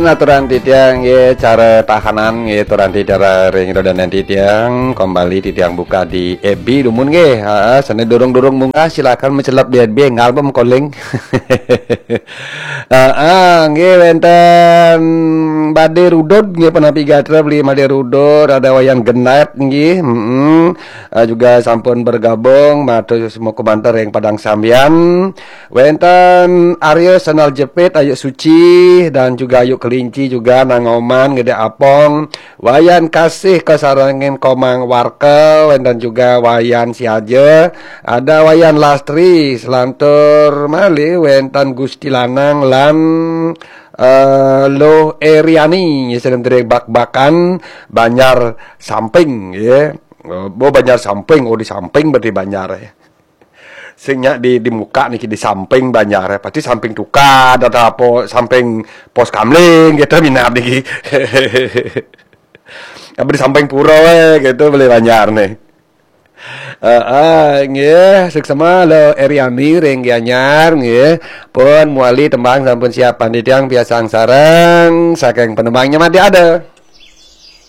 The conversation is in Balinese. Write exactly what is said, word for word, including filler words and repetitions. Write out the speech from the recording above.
Aturan titiang nggih, cara tahanan nggih, aturan titiang ring rodanan titiang, kembali titiang buka di F B dumun nggih. Ha, sane durung-durung munggah silakan mencelep di F B, enggal pun calling. Heeh, nggih wenten Bade Rudud nggih, penapi gatra beli Bade Rudud, ada Wayan Genat nggih. Heeh. Eh, juga sampun bergabung, matur semua komentar yang padang sambian. Wenten Arya Senal Jepit, Ayu Suci, dan juga Ayu Kelinci juga, Nang Oman, Gede Apong, Wayan Kasih, Kasarangin Komang Warkel, wenten juga Wayan Siaja, ada Wayan Lastri, selantur malih wenten Gusti Lanang lan eh, Loh Eriani, ya, sedang dari bak-bakan Banjar Samping, ya. Oh, Banjar Samping, oh, di Samping berarti Banjar, ya. Sing nyak di, di muka niki di Samping Banjar, ya. Pasti Samping Tukad atau apa, Samping Pos Kamling gitu, minab niki. Apa di Samping Pura, eh, gitu, beli Banjar nih. Eh, eh, nggih, suksma Loh Eriani ring Gianyar, nggih. Pun muali tembang sampun siap, panitia biasa sareng, saking penembangnya mati ada.